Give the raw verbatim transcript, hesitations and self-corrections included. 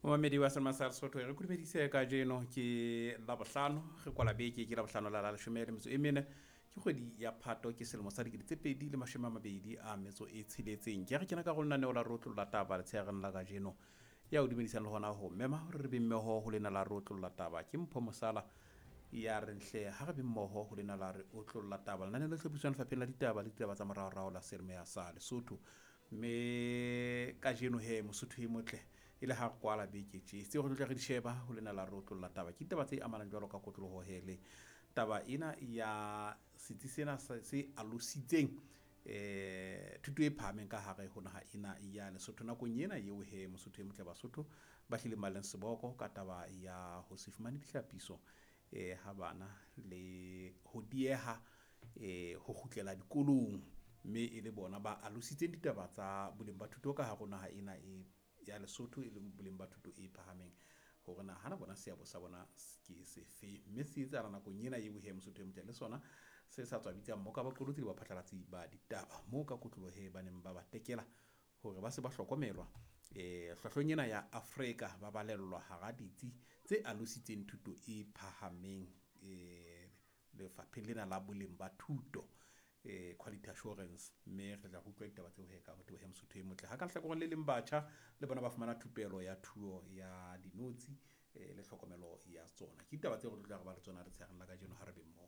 Momamedi wa Selma sa Lesotho, re kudumedise kajeno ke Labohlano, re kwala beke ke Labohlano la la leshome le metso e mene, ke kgwedi ya Phato, ke selemo sa dikete tse pedi le mashome a mabedi a metso e tsheletseng. Ke re kena ka lenaneo la Rotlolla Taba letshehareng la kajeno. Ya o dumedisang le hona ho mema hore re be mmoho ho lena la Rotlolla Taba ke Mpho Mosala ya reng hle ha re be mmoho ho lena la re otlolla taba. Lenaneo le hlophiswang Lefapheng la Ditaba le Ditaba tsa Moraorao la Selemeya sa Lesotho. Mme kajeno he Mosotho e motle e le ha re kwala beke tje tseo re tlo tla re di sheba ho lena la Rotlolla Taba ke ditaba tse amanang jwalo ka kotloloho he le taba ena ya setsi sena se alositseng eh thuto e phahameng ka hare ho naha ena ya Lesotho nakong ena eo he Mosotho e motle Basotho ba hlileng ba leng seboko ka taba ya ho se fumane dihlapiso eh ha bana le ho dieha eh ho kgutlela dikolong, mme e le bona ba alositseng ditaba tsa boleng ba thuto ka hare ho naha ena e ya Lesotho, e leng boleng ba thuto e phahameng hore na hana bona seabo sa bona ke sefe, mme se etsahala nakong ena eo he Mosotho e motle le sona se sa tswa bitsa mmoka baqolotsi le baphatlalatsi ba ditaba moo ka kotloloho he ba neng ba ba tekela hore ba se ba hlokomelwa eh hlwahlweng ena ya Afrika ba balellwa hara ditsi tse alositseng thuto e phahameng eh lefapheng lena la boleng ba thuto eh quality assurance. Mme re tla utlwa ditaba tseo he ka ho teboha Mosotho e motle. Ha ka lehlakoreng le leng batjha le bona ba fumana thupelo ya thuo ya dinotshi eh le tlhokomelo ya tsona. Ke ditaba tseo re tlo tla re ba le tsona letshehareng la kajeno ha re be mmoho.